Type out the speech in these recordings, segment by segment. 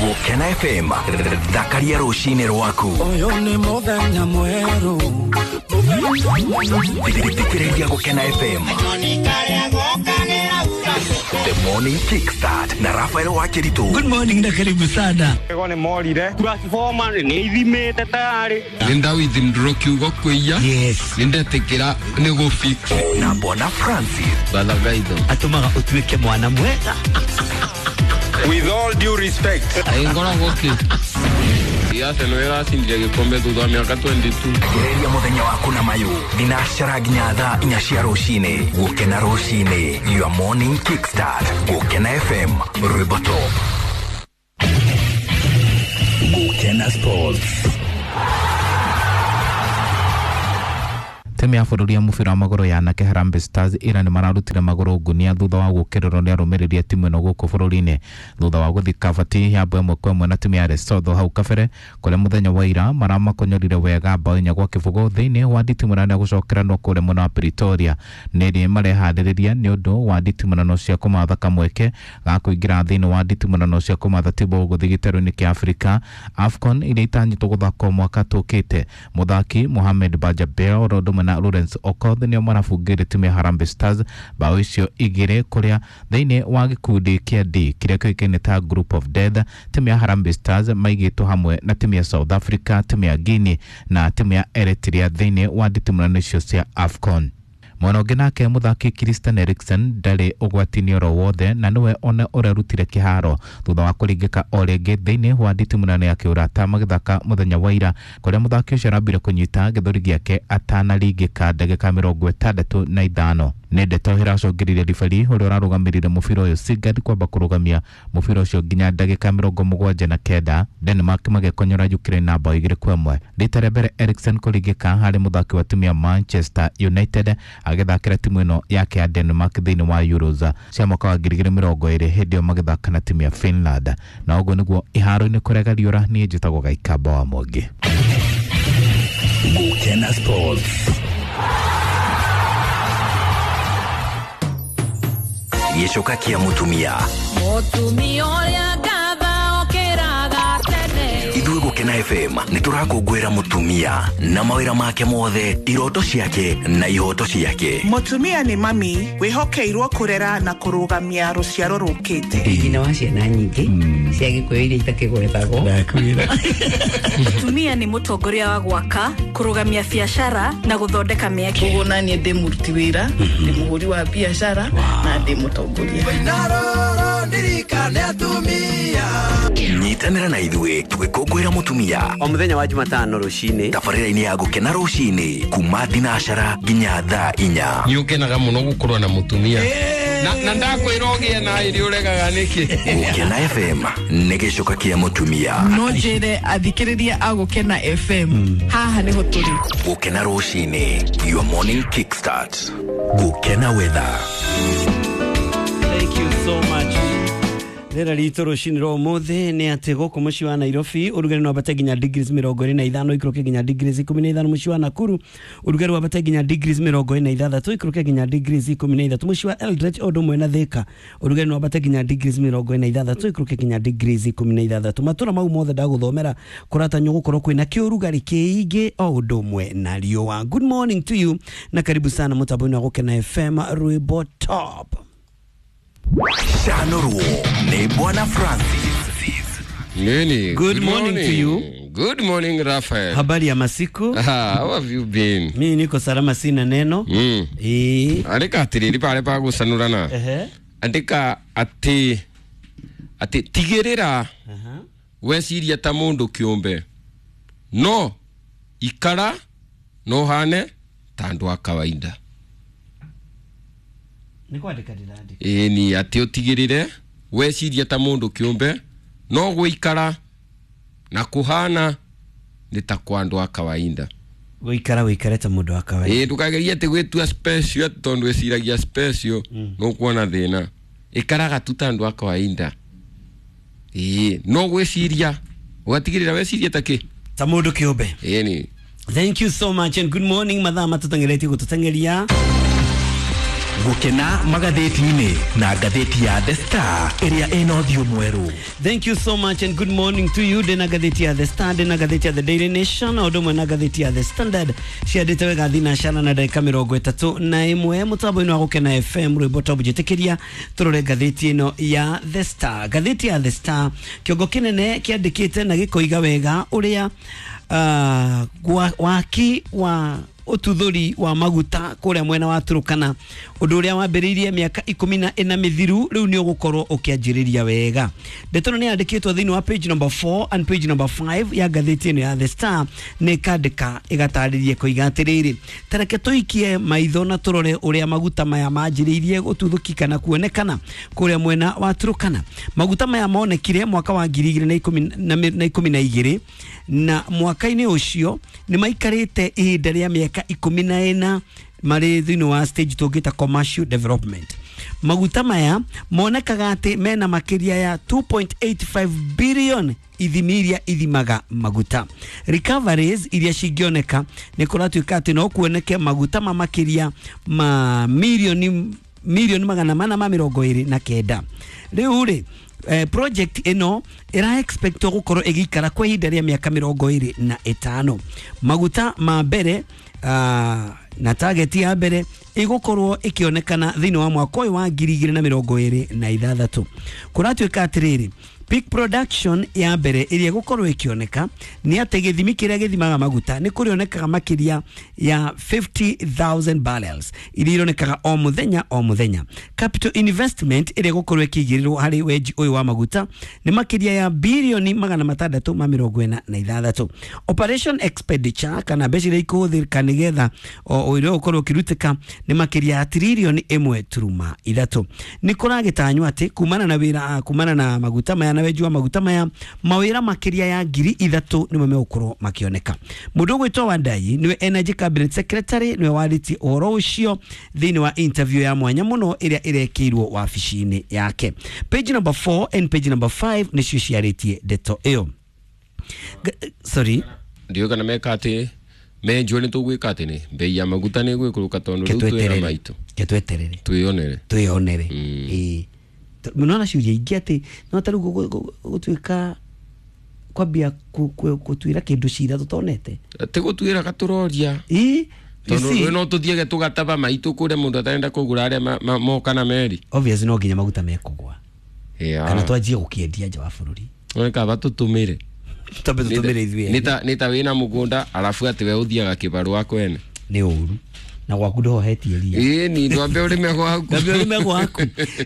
Gukena FM thakaria rucini rwaku. Uyu ni muthenya mweru. Thikĩrĩria Gukena FM. The Morning Kickstart na Rafael Wakiritu. Good morning na karibu sana. Ego nĩ morire transformer nĩ ithimĩte tayarĩ. Nĩ ndawithindũrwo kiugo kwĩia. Yes. Nĩ ndetikĩra nĩ gũ fix. Na Bwana Francis. Bathagaitho. Atũmaga ũtuĩke mwana mwega. With all due respect. Ngoragwo kĩ. Arsenal ĩracindire gĩkombe thutha wa mĩaka 22. Gereria mũthenya waku na mayũ thinacara nginya thaa 4 cia rũcinĩ. Gũkena rũcinĩ, your morning kickstart. Gũkena FM, rwĩmbo top. Gũkena Sports. Timu ya bũrũri ya mũbira wa magũrũ ya anake Harambee Stars ira nĩ mararutire magũrũ ngunia thutha wa gũkĩrĩrwo nĩ arũmĩrĩri a timu ĩno gũkũ bũrũri-inĩ thutha wa gũthika kabati ya mbao 1-1 na timu ya Lesotho hau kabere kũrĩa mũthenya wa ira maramakonyorire wega mbao 4-0 thĩinĩ wa nditimũrano ya gũcokeranwo kũrĩa mwena wa Pretoria. Nĩrĩ mareharĩrĩria nĩ ũndũ wa nditimũrano cia kũmatha kamweke ga kũingĩra thĩinĩ wa nditimũrano cia kũmatha timu gũthiĩ gĩtarũ-inĩ kĩa Afrika AFCON iria itanyĩtwo gũthakwo mwaka tũkĩte. Mũthaki Mohamed Bajabel oro ũndũ ũmwe na Lawrence Okoth nĩo marabungĩire timu ya Harambee Stars bao icio 2 kũrĩa thĩinĩ wa gĩkundi kĩa D kĩrĩa kĩũĩkaine ta Group of Death. Timu ya Harambee Stars maigĩtwo hamwe na timu ya South Africa, timu ya Guinea na timu ya Eritrea thĩinĩ wa nditimũrano icio cia AFCON. Mwena ũngĩ nake mũthaki Christian Eriksen ndarĩ ũgwati-inĩ oro wothe na nĩwe ona ũrerutire kĩharo thutha wa kũringĩka o rĩngĩ thĩinĩ wa nditimũrano ya kĩũrata magĩthaka mũthenya wa ira kũrĩa mũthaki ũcio arambire kũnyita gĩthũri gĩake atanaringĩka ndagĩka 65. Nĩ ndeto ĩracũngĩrĩirie ribari ũrĩa ũrarũgamĩrĩire mũbira ũyũ Sigurd kwamba kũrũgamia mũbira ũcio nginya ndagĩka 79. Denmark magĩkonyora Ukraine na bao 2-1. Rita rĩa mbere Eriksen kũringĩka harĩ mũthaki wa timu ya Manchester United agĩthakĩra timu ĩno yake ya Denmark thĩinĩ wa Euros cia mwaka wa 2020 hĩndĩ ĩyo magĩthaka na timu ya Finland. Na ũguo nĩguo iharo-inĩ kũrega riũra. Niĩ njĩtagwo Gaikamba wa Mwangi. Gukena Sports. Gĩcoka kĩa mũtumia. Mũtumia ũrĩa ngatha okĩraga tene. Ithuĩ Gũkena FM nĩ tũrakũngũĩra mũtumia na mawĩra make mothe, iroto ciake na ihoto ciake. Mũtumia nĩ mami wĩhokeirwo kũrera na kũrũgamia rũciaro rũkĩte. Nyina wa ciana nyingĩ cia Gĩkũyũ iria itakĩgwetagwo. Mũtumia nĩ mũtongoria wa gwaka, kũrũgamia biacara na gũthondeka mĩeke. Ũguo naniĩ ndĩ mũruti wĩra, ndĩ mũhũri wa biacara na ndĩ mũtongoria. Nyitanĩra na ithuĩ tũgĩkũngũĩra mũtumia o mũthenya wa Jumatano rũcinĩ tabarĩra-inĩ ya Gũkena rũcinĩ kuma thinacara nginya thaa 4. Nĩ ũkenaga mũno gũkorwo na mũtumia na ndakwĩra ũgĩe na ĩrĩ ũregaga nĩkĩ. Gũkena FM nĩ gĩcoka kĩa mũtumia. No njĩre athikĩrĩria a Gũkena FM haha nĩho tũrĩ. Gũkena rũcinĩ, your morning kickstart. Gũkena weather. Thank you so much. Rĩera ritũ rũcinĩ rwa ũmũthĩ nĩ atĩ gũkũ mũciĩ wa Nairobi ũrugarĩ no wambate nginya degrees 25 ikũrũke nginya degrees 15. Mũciĩ wa Nakuru ũrugarĩ wambate nginya degrees 46 ikũrũke nginya degrees 13. Mũciĩ wa Eldoret o ũndũ ũmwe na Thika ũrugarĩ no wambate nginya degrees 46 ikũrũke nginya degrees 16. Matũra mau mothe ndagũthomera kũratanywo gũkorwo kwĩna kĩũrugarĩ kĩingĩ o ũndũ ũmwe na riũa. Good morning to you na karibu sana mũtambo-inĩ wa Gũkena FM rwĩmbo top. Chanurwo ni Bwana Francis. Nini? Good morning to you. Good morning Raphael. Habari ya masiku? How have you been? Mimi niko salama, sina neno. Andika atiriri pare pa gucanurana. Andika ati tigirira weciria ta mundu kiumbe no ikara no hane ta andu a kawaida. Nĩ kwandĩka ndĩrandĩka. Ĩni atĩ ũtigĩrĩre weciria ta mũndũ kĩũmbe no gũikara na kũhana nĩ ta kwa andũ a kawaida. Gũikara wĩikare ta mũndũ wa kawaida. Ĩĩ ndũkagerie atĩ gwĩtua special atĩ tondũ wĩciragia special nũkuona thĩna. Ikaraga tu ta andũ a kawaida. Ĩĩ no gwĩciria ũgatigĩrĩra weciria ta kĩ? Ta mũndũ kĩũmbe. Ĩni. Thank you so much and good morning. Mathaa matũteng'eretie gũtũteng'eria. Gukena magathĩti-inĩ na ngathĩti ya The Star ĩrĩa ĩna ũthiũ mwerũ. Thank you so much and good morning to you. Ndĩna ngathĩti ya The Star, ndĩna ngathĩti ya The Daily Nation, o ũndũ ũmwe na ngathĩti ya The Standard. Ciandĩte wega thinacara na ndagĩka 31 mũtambo-inĩ wa Gũkena FM rwĩmbo top njĩtĩkĩria tũrore ngathĩti ĩno ya The Star. Ngathĩti ya The Star kĩongo kĩnene kĩandĩkĩte na gĩkoiga wega ũrĩa waki wa ututhuri wa maguta kuria mwena wa Turukana undu uria wambiriirie miaka 14 mithiru riu ni ugukorwo ukianjiriria wega. Ndeto ni yandikitwo thiini wa page number 4 and page number 5 ya ngathĩti ĩno ya The Star nĩ kandĩka ĩgatarĩria koiga atĩrĩrĩ, tareke tũikie maitho na tũrore ũrĩa maguta maya manjĩrĩirie gũtuthũki kana kuonekana kũrĩa mwena wa Turukana. Maguta maya monekire mwaka wa 2012 na mwaka-inĩ ũcio nĩ maikarĩte ihinda rĩa mĩaka 14 marĩ thĩinĩ wa stage tũngĩta commercial development. Maguta maya monekaga atĩ mena makĩria ya 2.85 billion ithimi iria ithimaga maguta. Recoveries iria cingĩoneka nĩ kũratuĩka atĩ no kuoneke maguta ma makĩria ma milioni 429. Rĩu rĩ project ĩno ĩra expect gũkorwo ĩgĩikara kwa ihinda rĩa mĩaka 25. Maguta ma mbere na target ya mbere ĩgũkorwo ĩkĩonekana thĩinĩ wa mwaka ũyũ wa 2026. Kũratuĩka atĩrĩrĩ, peak production ya mbere ĩrĩa ĩgũkorwo ĩkĩoneka nĩ atĩ gĩthimi kĩrĩa gĩthimaga maguta nĩ kũrĩonekaga makĩria ya 50,000 barrels iria ironekaga o mũthenya o mũthenya. Capital investment ĩrĩa ĩgũkorwo ĩkĩigĩrĩrwo harĩ wenji ũyũ wa maguta nĩ makĩria ya bilioni 646. Operation expenditure kana mbeca iria ikũhũthĩka nĩgetha ũira ũkorwo ũkĩrutĩka nĩ makĩria ya tririoni 1.3. Nĩ kũragĩtanywo atĩ kumana na wĩra kumana na maguta maya na wenji wa maguta maya mawĩra makĩria ya 3,000 nĩmo megũkorwo makĩoneka. Mũndũ ũgwĩtwo Wandayi nĩwe Energy Cabinet Secretary nĩwe warĩtie ũhoro ũcio thĩinĩ wa interview ya mwanya mũno ĩrĩa ĩrekĩirwo wabici-inĩ yake. Page number 4 and page number 5 nĩcio ciarĩtie ndeto ĩyo. Sorry, ndiũĩ kana meka atĩ menjwo nĩ tũgwĩka atĩ nĩ mbei ya maguta nĩ ĩgũikũrũka tondũ rĩu twĩna maitũ. Ketweterere twĩonere twĩonere. Ĩĩ nona ciũria ingĩ atĩ no ta rĩu gũtuĩka kwambia gũtuĩra kĩndũ cira tũtonete ti gũtuĩra gatũroria ĩĩ tondũ no tũthiage tũgataba maitũ kũrĩa mũndũ atarenda kũgũra arĩa moka na meri. Obviously no nginya maguta mekũgwa kana twanjie gũkĩendia nja wa bũrũri. Nĩ kaba tũtũmĩre twambe tũtũmĩre ithuĩ ene. Nĩ ta wĩna mũgũnda arabu atĩ we ũthiaga kĩbarũa kwene nĩ ũru na gwaku ndũhohetie ria. Ĩĩ ni ndwambe ũrĩme gwaku. Ndwambe ũrĩme gwaku.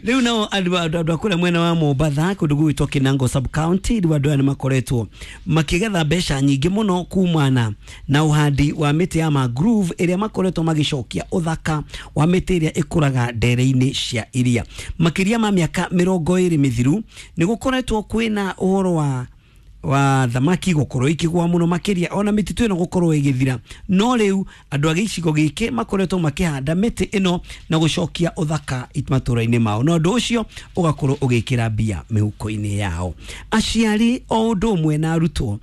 Rĩu nao andũ a kũrĩa mwena wa Mombatha kũndũ gũgwĩtwo Kinango sub county rĩu andũ aya nĩmakoretwo makĩgetha mbeca nyingĩ mũno kumana na ũhandi wa mĩtĩ ya mangrove ĩrĩa makoretwo magĩcokia ũthaka wa mĩtĩ ĩrĩa ĩkũraga ndere-inĩ cia iria. Makĩria ma mĩaka 20 mĩthiru nĩ gũkoretwo kwĩna ũhoro wa thamaki gũkorwo ikĩgwa mũno makĩria ona mĩtitũ ĩno gũkorwo ĩgĩthira, no rĩu andũ a gĩcigo gĩkĩ makoretwo makĩhanda mĩtĩ ĩno na gũcokia ũthaka matũra-inĩ mao, na ũndũ ũcio ũgakorwo ũgĩkĩra mbia mĩhuko-inĩ yao. Aciari o ũndũ ũmwe na arutwo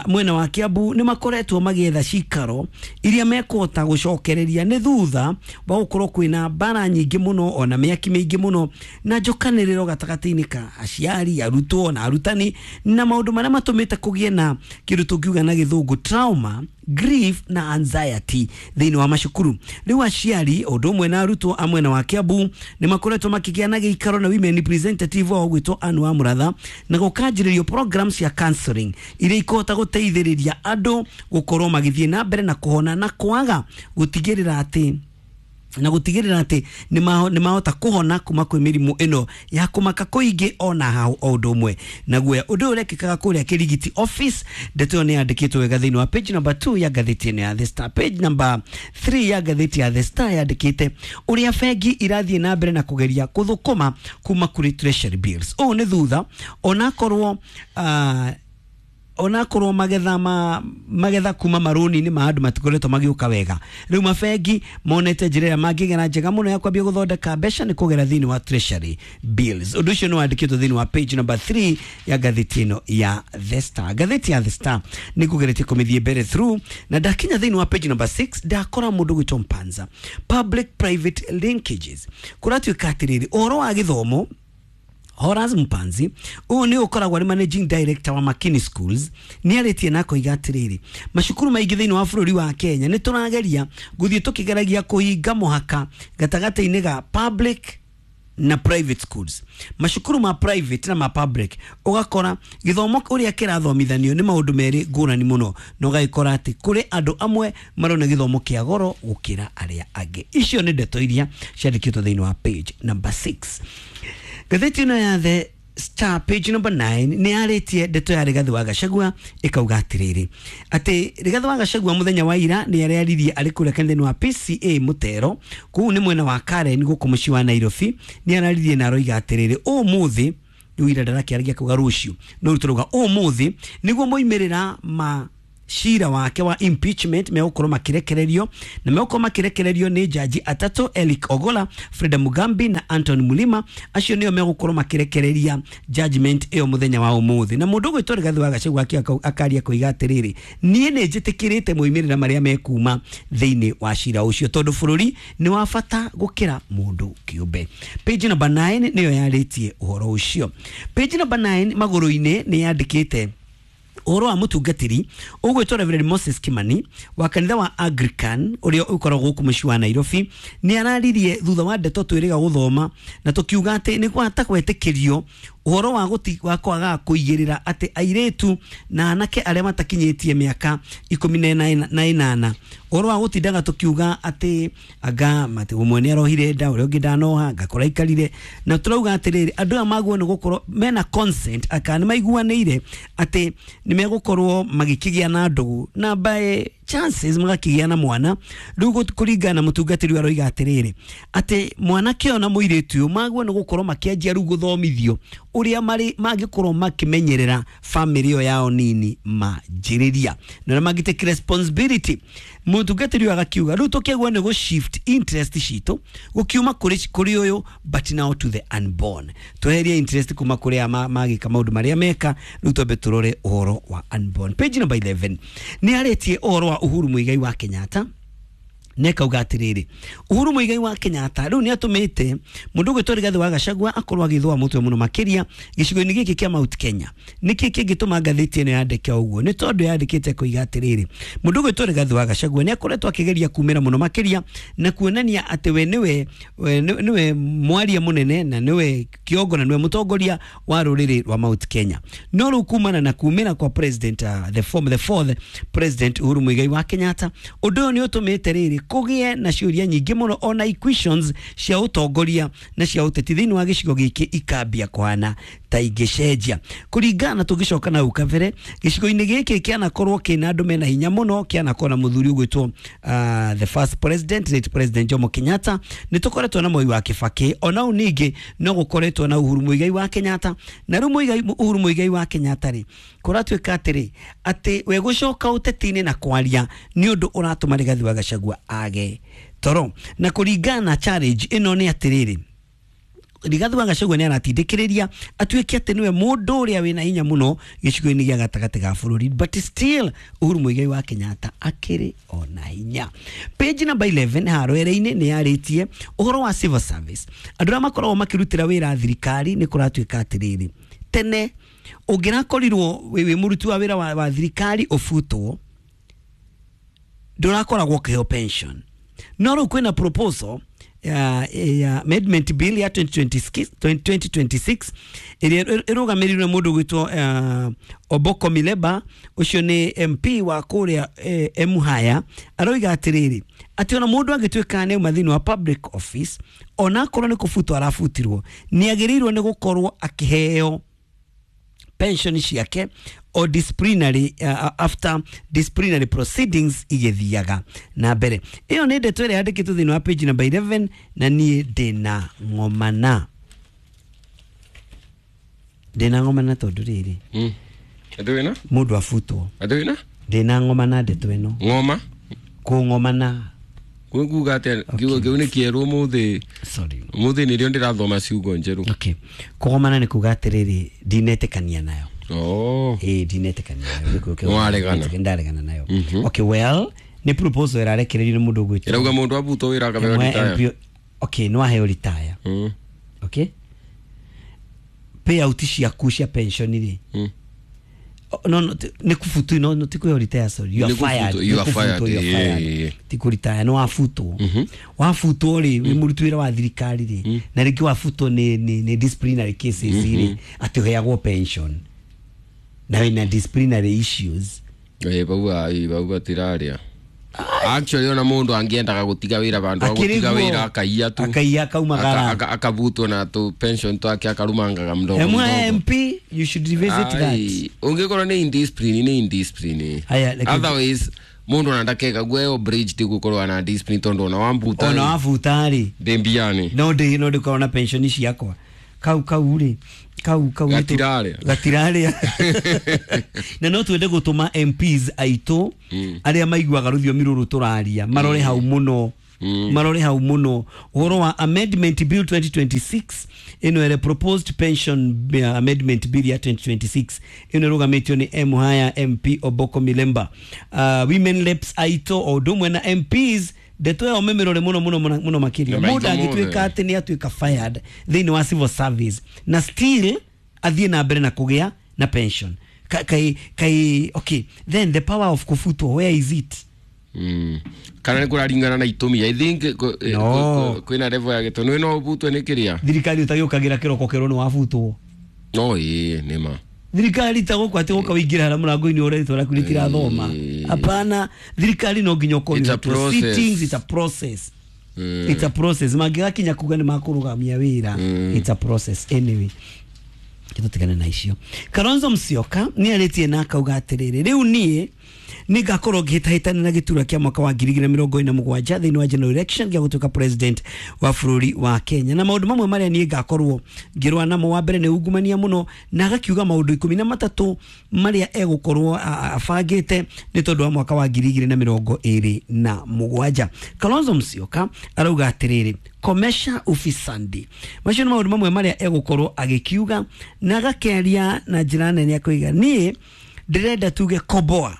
mwena wa Kiambu nĩ makoretwo magĩetha cikaro iria mekũhota gũcokereria nĩ thutha wa gũkorwo kwĩna mbara nyingĩ mũno ona mĩaki mĩingĩ mũno na njokanĩrĩro gatagatĩ-inĩ ka aciari, arutwo na arutani, na maũndũ marĩa matũmĩte kũgĩe na kĩndũ tũngiuga na gĩthũngũ trauma, grief na anxiety thĩinĩ wa macukuru. Rĩu aciari ũndũ ũmwe na arutwo a mwena wa Kiambu nĩ makoretwo makĩgĩa na gĩikaro na women representative wao gwĩtwo Anne wa Mũratha na gũkanjĩrĩrio programs cia counseling iria ikũhota gũteithĩrĩria andũ gũkorwo magĩthiĩ na mbere na kũhona na kwaga gũtigĩrĩra atĩ nĩ mahota kũhona kuma kwĩ mĩrimũ ĩno ya kũmaka kũingĩ ona hau o ũndũ ũmwe na guoya. Ũndũ ũyũ ũrekĩkaga kũrĩa Kĩrigiti office. Ndeto ĩyo nĩ yandĩkĩtwo wega thĩinĩ wa page number 2 ya ngathĩti ĩno ya The Star. Page number 3 ya ngathĩti ya The Star yandĩkĩte ũrĩa bengi irathiĩ na mbere na kũgeria kũthũkũma kuma kũrĩ treasury bills. Ũũ nĩ thutha onakorwo Onakorwo magetha ma magetha kuma maruni-inĩ ma andũ matikoretwo magĩũka wega, rĩu mabengi monete njĩra ĩrĩa mangĩgera njega mũno ya kwambia gũthondeka mbeca nĩ kũgera thĩinĩ wa treasury bills. Ũndũ ũcio nĩ wandĩkĩtwo thĩinĩ wa page number 3 ya ngathĩti ĩno ya The Star. Ngathĩti ya The Star nĩ kũgeretie kũmĩthiĩ mbere through, na ndakinya thĩinĩ wa page number 6 ndakora mũndũ gwĩtwo Mpanza, public private linkages. Kũratuĩka atĩrĩrĩ, ũhoro wa gĩthomo, Horace Mpanzi ũyũ nĩ ũkoragwo arĩ managing director wa Makini Schools nĩ arĩtie na akoiga atĩrĩrĩ, macukuru maingĩ thĩinĩ wa bũrũri wa Kenya nĩ tũrageria gũthiĩ tũkĩgeragia kũhinga mũhaka gatagatĩ-inĩ ga public na private schools, macukuru ma private na ma public. Ũgakora gĩthomo ũrĩa kĩrathomithanio nĩ maũndũ merĩ ngũrani mũno, na ũgagĩkora atĩ kũrĩ andũ amwe marona gĩthomo kĩa goro gũkĩra arĩa angĩ. Icio nĩ ndeto iria ciandĩkĩtwo thĩinĩ wa page number 6. Ngathĩti ĩno ya The Star, page number 9, nĩ yarĩtie ndeto ya Rigathĩ wa Gachagua, ĩkauga atĩrĩrĩ, atĩ Rigathĩ wa Gachagua mũthenya wa ira nĩ arĩaririe arĩ kũrĩa kanitha-inĩ wa PCA Mũtero, kũu nĩ mwena wa Karen gũkũ mũciĩ wa Nairobi. Nĩ araririe na aroiga atĩrĩrĩ, ũmũthĩ rĩu, ira ndarakĩaragia kuga rũciũ, no rĩu tũrauga ũmũthĩ nĩguo moimĩrĩra ma cira wake wa impeachment megũkorwo makirekererio, na megũkorwo makirekererio nĩ jaji atatũ, Eric Ogola, Freda Mugambi na Anton Mulima. Acio nĩo megũkorwo makirekereria judgment ĩyo mũthenya wa ũmũthĩ. Na mũndũ ũgwĩtwo Rigathĩ wa Gachagua akaria koiga atĩrĩrĩ, niĩ nĩ njĩtĩkĩrĩte moimĩrĩra marĩa mekuma thĩinĩ wa cira ũcio, tondũ bũrũri nĩ wa bata gũkĩra mũndũ kĩũmbe. Page number 9 nĩyo yarĩtie ũhoro ũcio. Page number 9 magũrũ-inĩ nĩ yandĩkĩte ũhoro wa mũtungatĩri ũgwĩtwo Reverend Moses Kimani wa kanitha wa Anglican ũrĩa ũkoragwo gũkũ mũciĩ wa Nairobi. Nĩ araririe thutha wa ndeto twĩrĩga gũthoma na tũkiuga atĩ nĩ gwata gwetĩkĩrio ũhoro wa gũti wa kwaga kũigĩrĩra atĩ airĩtu na anake arĩa matakinyĩtie mĩaka 18, ũhoro wa gũtindaga tũkiuga atĩ anga mati ũmwe nĩ arohire nda, ũrĩa ũngĩ ndanoha, ngakora ikarire, na tũrauga atĩrĩrĩ, andũ aya maguo nĩ gũkorwo mena consent aka nĩ maiguanĩire atĩ nĩ megũkorwo magĩkĩgĩa na ndũgũ na by chances magakĩgĩa na mwana. Rĩu kũringana na mũtungatĩri ũyũ aroiga atĩrĩrĩ, atĩ mwanake ũyũ na mũirĩtu ũyũ maguo nĩ gũkorwo makĩanjia rĩu gũthomithio ũrĩa marĩ mangĩkorwo makĩmenyerera famĩlĩ ĩyo yao nini manjĩrĩria na ũrĩa mangĩ take responsibility. Mũtungatĩri ũyũ agakiuga rĩu tũkĩagwo nĩ gũ shift interest citũ gũkiuma kũrĩ ũyũ but now to the unborn, tweherie interest kuma kũrĩ aya magĩka maũndũ marĩa meka, rĩu twambe tũrore ũhoro wa unborn. Page number 11 nĩ arĩtie ũhoro wa Uhuru Muigai wa Kenyatta, nekauga atĩrĩrĩ, Uhuru Muigai wa Kenyatta rĩu nĩ atũmĩte mũndũ ũgwĩtwo Rigathĩ wa Gachagua akorwo agĩthũa mũtwe mũno makĩria gĩcigo-inĩ gĩkĩ kĩa Mount Kenya. Nĩkĩ kĩngĩtũma ngathĩti ĩno yandĩke ũguo? Nĩ tondũ yandĩkĩte koiga atĩrĩrĩ, mũndũ ũgwĩtwo Rigathĩ wa Gachagua nĩ akoretwo akĩgeria kumĩra mũno makĩria na kuonania atĩ we nĩwe mwaria mũnene na nĩwe kĩongo na nĩwe mũtongoria wa rũrĩrĩ rwa Mount Kenya. No rĩu kumana na kumĩra kwa president, the fourth president Uhuru Muigai wa Kenyatta, ũndũ ũyũ nĩ ũtũmĩte rĩrĩ kũgĩe na ciũria nyingĩ mũno ona equations cia ũtongoria na cia ũteti thĩinĩ wa gĩcigo gĩkĩ ikambia kũhana ta ingĩcenjia. Kũringana tũgĩcoka na hau kabere, gĩcigo-inĩ gĩkĩ kĩanakorwo kĩna andũ mena hinya mũno, kĩanakorwo na mũthuri ũgwĩtwo the first president, late President Jomo Kenyatta, nĩ tũkoretwo na Moi wa Kibaki, ona u ningĩ no gũkoretwo na Uhuru Muigai wa Kenyatta. Na rĩu Uhuru Muigai wa Kenyatta rĩ, kũratuĩka atĩrĩ, atĩ we gũcoka ũteti-inĩ na kwaria nĩ ũndũ ũratũma Rigathĩ wa Gachagua age toro. Na kũringana na challenge ĩno nĩ atĩrĩrĩ, Rigathĩ wa Gachagua nĩ aratindĩkĩrĩria atuĩke atĩ nĩwe mũndũ ũrĩa wĩna hinya mũno gĩcigo-inĩ gĩa gatagatĩ ga bũrũri, but still Uhuru Muigai wa Kenyatta akĩrĩ ona hinya. Page number 11 harwere-inĩ nĩ yarĩtie ũhoro wa civil service, andũ arĩa makoragwo makĩrutĩra wĩra thirikari. Nĩ kũratuĩka atĩrĩrĩ, tene ũngĩrakorirwo wĩ mũruti wa wĩra wa thirikari ũbutwo, ndũrakoragwo ũkĩheo pension. No rĩu kwĩna proposal ya amendment bill ya 2026 ĩrĩa ĩrũgamĩrĩirwo nĩ mũndũ ũgwĩtwo Oboko Mileba, ũcio nĩ MP wa kũrĩa Emuhaya. Aroiga atĩrĩrĩ, atĩ ona mũndũ angĩtuĩka nĩ auma thĩinĩ wa public office, ona akorwo nĩ kũbutwo arabutirwo, nĩ agĩrĩirwo nĩ gũkorwo akĩheo pension ciake o disciplinary, after disciplinary proceedings igĩthiaga na mbere. Ĩyo nĩ ndeto ĩrĩa yandĩkĩtwo thĩinĩ wa page number 11, na niĩ ndĩna ng'omana tondũ rĩrĩ Atĩ wĩna? Mũndũ abutwo. Atĩ wĩna? Ndĩna ng'oma na ndeto ĩno. Ng'oma? Kũng'omana. Kuga atĩa kiugo kĩu nĩ kĩerũ ũmũthĩ. Sorry. Ũmũthĩ nĩrĩo ndĩrathoma ciugo njerũ. Okay. Kũgomana nĩ kuga atĩrĩrĩ, ndinetĩkania nayo. Oh. Ĩĩ, ndinetĩkania nayo. Gĩkũyũ kĩu. Nĩwaregana. Ndaregana nayo. Okay, well, nĩ proposal ĩrarekererio nĩ mũndũ ũgwĩtwo. Ĩrauga mũndũ abutwo wĩra akaheo retire. Okay, nĩ waheo retire. Okay. Payout ciaku cia pension rĩ. No, no, nĩ kũbutwo, no, ti kũheo retire, sorry. You are fired. You are fired. Ti kũ retire, nĩ wabutwo. Wabutwo rĩ, wĩ mũruti wĩra wa thirikari rĩ, na rĩngĩ wabutwo nĩ disciplinary cases rĩ, atĩ ũheagwo pension. Na wĩna disciplinary issues. Bau batiraria. Actually ona mundu angiendaga gutiga wira bandu agutiga wira akaiya tu. Akaiya akaumagara. Akabutwo na tu pension twake akarumangaga mdogo. MP, you should revisit that. Ungikorwo ni indiscipline ni indiscipline. Otherwise mundu anandakeka gweo bridge ti gukorwo na discipline tondu ona wambuta. Ona wabuta ri. Ndimbiani. No ndi no ndikorwo na pension ciakwa. Kau kau ri. Kau kau gatirare. Gatirare. Na no twende gutuma MPs aitũ aria maiguaga rũthiomi rũrũ tũraria marore hau mũno. Marore hau mũno ũhoro wa amendment bill 2026 ĩno ĩrĩa proposed pension amendment bill ya 2026 ĩno ĩrũgamĩtio nĩ Muhaya MP Oboko Milemba. Women reps aitũ o ũndũ ũmwe na MPs ndeto ĩyo mĩmĩrore mũno mũno mũno makĩria. Mũndũ angĩtuĩka atĩ nĩ atuĩka fired thĩinĩ wa civil service na still athiĩ na mbere na kũgĩa na pension. Kai kai okay, then the power of kufutwo, where is it? Kana nĩ kũraringana na itũmi. I think kwĩna level ya gĩtũ no ũbutwe nĩ kĩrĩa thirikari ũtagĩũkagĩra kĩroko kĩrwo nĩ wabutwo. No ĩĩ nĩ ma thirikari tagũkũ atĩ gũka wĩingĩra harĩa mũrango-inĩ ũrĩa rĩtwa rĩaku rĩtirathoma. Hapana, thirikari no nginya ũkorwo sittings, it's a process. It's a process. Mangĩgakinya kuga nĩ makũrũgamia wĩra. It's a process anyway. Tũtigane na icio. Kalonzo Musyoka nĩ arĩtie na akauga atĩrĩrĩ, rĩu niĩ nĩngakorwo ngĩhĩtahĩtana na gĩturwa kĩa mwaka wa 2027 thĩinĩ wa general election gĩa gũtuĩka president wa bũrũri wa Kenya. Na maũndũ mamwe marĩa niĩ ngakorwo ngĩrũa namo, wa mbere nĩ ungumania mũno, na agakiuga maũndũ 13 marĩa egũkorwo abangĩte nĩ tondũ wa mwaka wa 2027. Kalonzo Musyoka arauga atĩrĩrĩ, komesha ufisadi. Macio nĩ maũndũ mamwe marĩa egũkorwo agĩkiuga, na agakĩaria na njĩra nene akoiga niĩ ndĩrenda tuge koboa.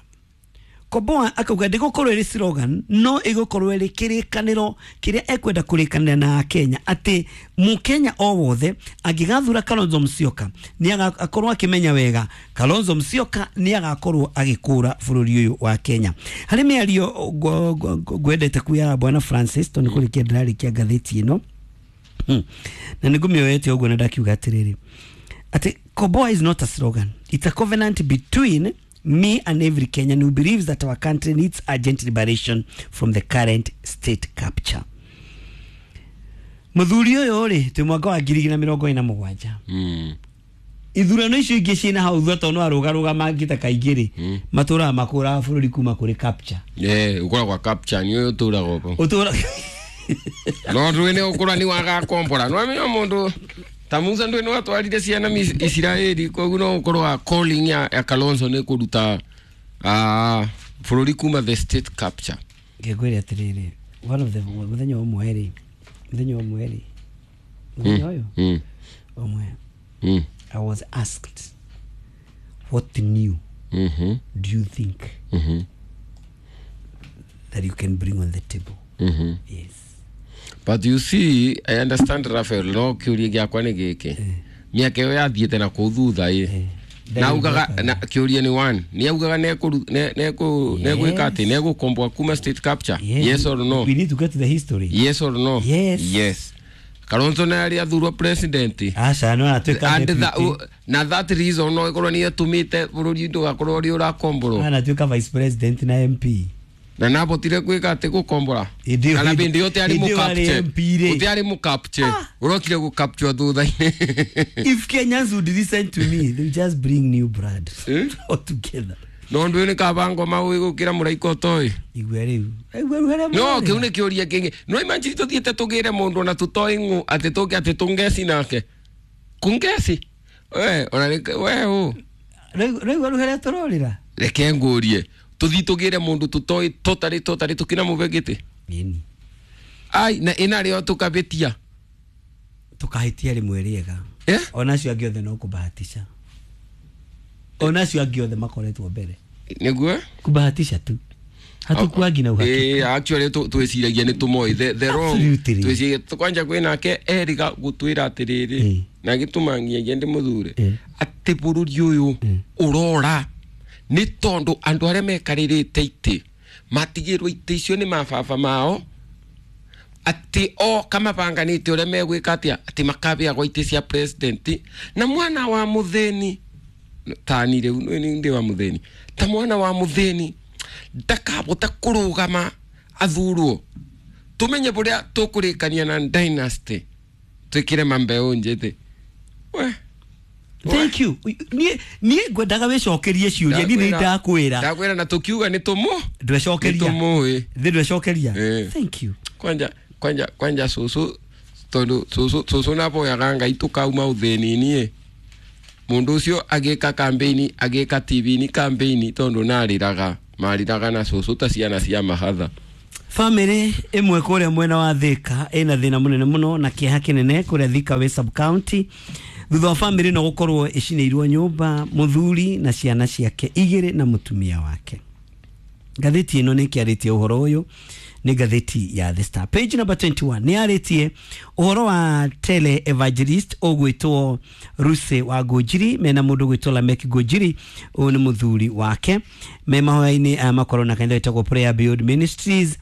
Koboa akauga ndĩgũkorwo ĩrĩ slogan, no ĩgũkorwo ĩrĩ kĩrĩkanĩro kĩrĩa ekwenda kũrĩkanĩra na Kenya, atĩ mũkenya o wothe angĩgathura Kalonzo Musyoka nĩ agakorwo akĩmenya wega Kalonzo Musyoka nĩ agakorwo agĩkũra bũrũri ũyũ wa Kenya. Harĩ mĩario ngwendete kuya Bwana Francis tondũ kũrĩkia ndĩrarĩkia ngathĩti ĩno na nĩngũmĩoete ũguo na ndakiuga atĩrĩrĩ, atĩ Koboa is not a slogan, it's a covenant between me and every Kenyan who believes that our country needs urgent liberation from the current state capture. Muthuri ũyũ rĩ, twĩ mwaka wa 2027. Ithurano icio ingĩ ciĩna hau thutha tondũ no arũgarũga mangĩta kaingĩ rĩ, matũraga makũraga bũrũri kuma kũrĩ capture. Ũkoragwo capture nĩ ũyũ ũtũraga ũguo. Ũtũraga no ndũĩ nĩ ũkũra nĩ wagakombora. No amenya mũndũ ta Musa ndũĩ nĩ watwarire ciana Isiraeli, koguo no ũkorwo wa calling ya Kalonzo nĩ kũruta bũrũri kuma the state capture. Ngĩkwĩra atĩrĩrĩ, one of the mũthenya ũmwe rĩ, mũthenya ũmwe rĩ, mũthenya ũyũ ũmwe, I was asked, what new do you think that you can bring on the table? Yes. But you see, I understand Raphael, no kĩũria gĩakwa nĩ gĩkĩ. Mĩaka ĩyo yathiĩte na kũu thutha ĩ. Na augaga na kĩũria nĩ one. Nĩ augaga negwĩka atĩ negũkomboa kuma state capture. Yes or no? We need to get to the history. Yes or no? Yes. Yes. Kalonzo nĩ arĩ athurwo president. Aca no atuĩka deputy. Na that reason no ĩkorwo nĩ ĩtũmĩte bũrũri ndũgakorwo ũrĩ ũrakomborwo. Anatuĩka vice president na MP. Na nabotire gwĩka atĩ gũkombora. Kana bindi yote arĩ mũcapture. Ũte arĩ mũcapture. Ũrokire gũcapture thutha-inĩ. If Kenyans would listen to me, they would just bring new blood all together. No ndũĩ nĩ kaba ngoma ũĩ gũkĩra mũraika ũtoĩ. Igua rĩu. Igua rĩu harĩa. No kĩu nĩ kĩũria kĩngĩ. No imagine tũthiĩte tũgĩre mũndũ na tũtoĩ ng'ũ atĩ tũke atĩ tũngeci nake. Kungeci? We, ona we ũ. Rĩu rũhere tũrorĩra. Reke ngũrie, tũthiĩ tũgĩre mũndũ tũtoĩ totally totally tũkĩnamũve gĩtĩ? Ĩni. Ai, na ĩnarĩo tũkabĩtia. Tũkahĩtia rĩmwe rĩega. Eh? Ona acio angĩ othe no kũbahatisha. Ona acio angĩ othe makoretwo mbere. Nĩguo. Kubahatisha tu. Hatukuangi na uhakika. Actually twĩciragia nĩ tũmoĩ the wrong. Absolutely. Twĩciragia kwanja kwĩ nake eriga gũtwĩra atĩrĩrĩ na gĩtũmangiagia ndĩ mũthure atĩ bũrũri ũyũ ũrora nĩ tondũ andũ arĩa mekarĩrĩte itĩ matigĩrwo itĩ icio nĩ mababa mao, atĩ o kamabanganĩte ũrĩa megwĩka atĩa, atĩ makabĩagwo itĩ cia president na mwana wa mũthĩni tani rĩu nĩ ndĩ wa mũthĩni, ta mwana wa mũthĩni ndakabota kũrũgama athurwo. Tumenye buria tũkũrĩkania na dynasty twĩkĩre mambeũ njĩthĩ. We. Thank you. Niĩ ngwendaga wĩcokerie ciũria, niĩ nĩ ndakwĩra. Ndakwĩra na tũkiuga nĩ tũmũ. Ndwecokeria. Nĩ tũmũĩ. Thĩ ndwecokeria. Thank you. Kwanja kwanja kwanja cũcũ, tondũ cũcũ naboyaga Ngai tũkauma ũthĩni-inĩ. Mũndũ ũcio agĩka campaign, agĩka TV-inĩ campaign, tondũ narĩraga marĩraga na cũcũ ta ciana cia mahatha. Family ĩmwe kũrĩa mwena wa Thika ĩna thĩna mũnene mũno na kĩeha kĩnene kũrĩa Thika wĩ sub county, thutha wa family no gũkorwo ĩcinĩirwo nyũmba, mũthuri na ciana ciake igĩrĩ na mũtumia wake. Ngathĩti ĩno nĩ ĩkĩarĩtie ũhoro ũyũ, nĩ ngathĩti ya The Star page number 21 nĩ yarĩtie ũhoro wa tele evangelist ũgwĩtwo Ruse wa Ngũnjiri mena mũndũ ũgwĩtwo Lamek Ngũnjiri, ũyũ nĩ mũthuri wake, me mahoya-inĩ aya makorwo na kanitha wĩtagwo Prayer Beyond Ministries.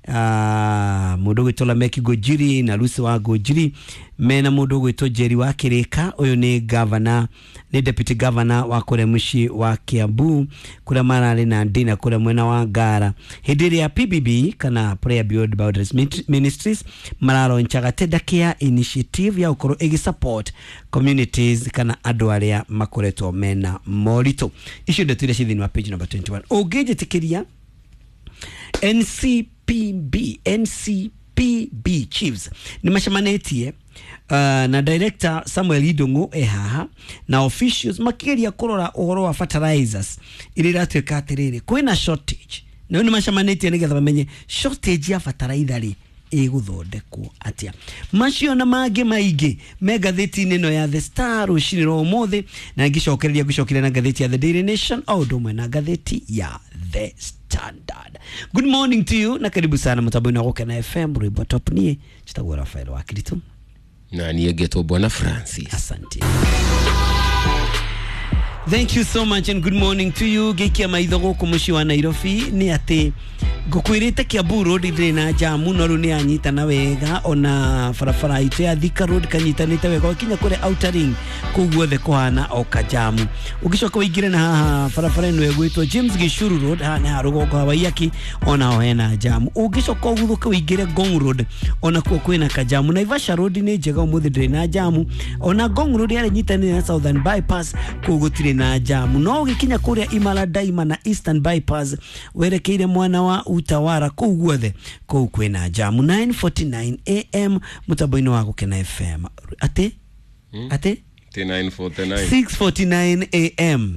Mũndũ ũgwĩtwo Lamek Ngũnjiri na Ruse wa Ngũnjiri mena mũndũ ũgwĩtwo Jerry wa Kĩrĩka, ũyũ nĩ governor, nĩ deputy governor wa kũrĩa mũciĩ wa Kiambu kũrĩa mararĩ na ndina kũrĩa mwena wa Ngara, hĩndĩ ĩrĩa PBB kana Prayer Beyond Boundaries Ministries mararonchaga Tenda Care Initiative ya gũkorwo ĩgĩ support communities kana andũ arĩa makoretwo mena moritũ. Icio ndeto iria ciĩ thĩinĩ wa page number 21. Ũngĩnjĩtĩkĩria, NCPB chiefs nĩ macemanĩtie na director Samuel Idongo e haha na officials makĩgeria kũrora ũhoro wa fertilizers iria iratuĩka atĩrĩrĩ kwĩna shortage, na rĩu nĩ macemanĩtie nĩgetha mamenye shortage ya fertilizer rĩ ĩgũthondekwo atĩa. Macio na mangĩ maingĩ me ngathĩti-inĩ ĩno ya The Star rũcinĩ rwa ũmũthĩ, na ngĩcokereria ngũcokeria na ngathĩti ya The Daily Nation o ũndũ ũmwe na ngathĩti ya The Standard. Good morning to you na karibu sana mũtambo-inĩ wa Gũkena FM, rwĩmbo top. Niĩ njĩtagwo Rafael wa Kiritu. Na niĩ ngetwo Bwana Francis. Asante. Thank you so much and good morning to you. Ngĩikia maitho gũkũ mũciĩ wa Nairobi nĩ atĩ ngũkwĩrĩte Kiambu Road ndĩrĩ na jamu, no rĩu nĩ yanyitana wega, ona barabara itũ ya Thika Road kanyitanĩte wega ũkinya kũrĩa Outer Ring, kũu guothe kũhana o kajamu. Ũngĩcoka ũingĩre na haha barabara ĩno ĩgwĩtwo James Gishuru Road, haha nĩ ha rũgongo ha Waiyaki, onaho hena jamu. Ũngĩcoka ũguthũke ũingĩre Ngong Road, onakuo kwĩna kajamu. Naivasha Road nĩ njega ũmũthĩ, ndĩrĩ na jamu. Ona Ngong Road yarĩ nyitanĩire na Southern Bypass, kũu gũtirĩ na jamu. No ũgĩkinya kũrĩa Imara Daima na Eastern Bypass werekeire mwana wa Utawara, kũu guothe kũu kwĩna jamu. 9:49 am mũtambo-inĩ wa Gũkena FM. Atĩ? Atĩ? 9:49. 6:49 am.